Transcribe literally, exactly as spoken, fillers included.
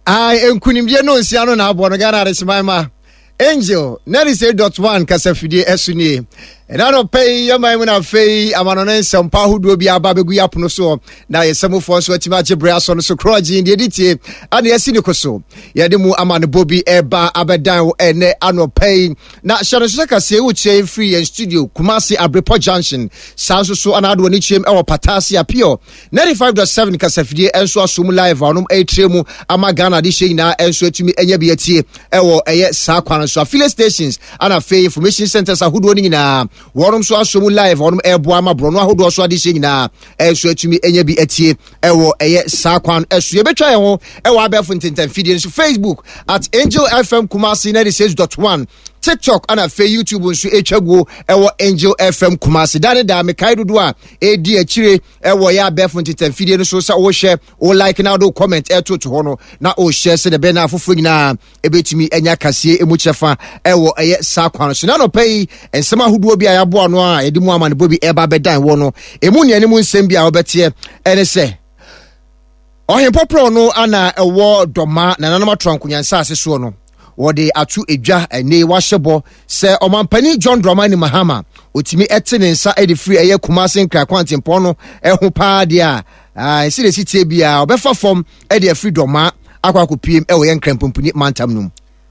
Ai, nkunimdie no nsia no na aboɔ no Ghana Adeseman ma Angel ninety-eight point one kasafidie ɛso nie. Ɛna nɔpɛ yi yɛman mu no, afei amanɔne nsɛmpa ahodoɔ bi aba bɛgu yɛ apono soɔ na yɛsɛmufoɔ nso atumi agye berɛ asɔ no so korɔgyen deɛ ɛdi tie ane yɛasi ne ko so. Yɛde mu amanebɔ bi ɛba abɛdan wo ɛnɛ anɔpɛ yi, na hyɛ no nso sɛ kaseɛ wokyerɛ firi yɛn studio Kumase Abrepɔ Junction. Saa nso so ana ade wɔ ne kyerɛm ɛwɔ Patase Apio ninety-five point seven kasafidie nso aso mu live a ɔnom ɛretire mu ama Ghana de hyɛ nyinaa nso atumi anya bi atie ɛwɔ ɛyɛ saa kwan no so. Affiliate stations ana afei information centers ahodoɔ no nyinaa, wɔnom nso aso mu live a wɔnom ɛreboa ama borɔno ahodoɔ so ade hyɛ nyinaa nso atumi anya bi atie ɛwɔ ɛyɛ saa kwan ɛso. Yɛbɛtwa yɛn ho ɛwɔ abɛɛfo ntentamfidie nso, Facebook at Angel F M Kumasi ninety-six point one, TikTok ana afei YouTube nso ɛtwa guo ɛwɔ Angel F M Kumasi. Da ne da mekae dodoɔ a ɛdi akyire ɛwɔ yɛ abɛɛfo ntentamfidie no so sɛ wohyɛ wo like na wode comment ɛto to hɔ no na wohyɛ sɛdeɛ ɛbɛyɛ na afoforɔ nyinaa ɛbɛtumi anya kaseɛ ɛmu kyɛfa ɛwɔ ɛyɛ saa kwan so. Na anɔpa yi nsɛm ahodoɔ bi a yɛaboa no a yɛde mu amanebɔ bi ɛba bɛdan wɔ no ɛmu nneanim nsɛm bi a wobɛteɛ ɛne sɛ ɔhempɔporɔ no ana ɛwɔ Dɔma Nananom Atoa Nkonyansase soɔ no, wɔde ato edwa ɛne wahyɛ bɔ sɛ ɔmampanin John Dramani Mahama otumi ɛte ne nsa ɛde firi ɛyɛ Kumase Nkra kwantempɔn no ɛho paa deɛ a ɛsi de si tie biara ɔbɛfa fam ɛde afiri Dɔma akɔ akɔpiem ɛwɔ yɛn Nkranpomponi mantam no mu.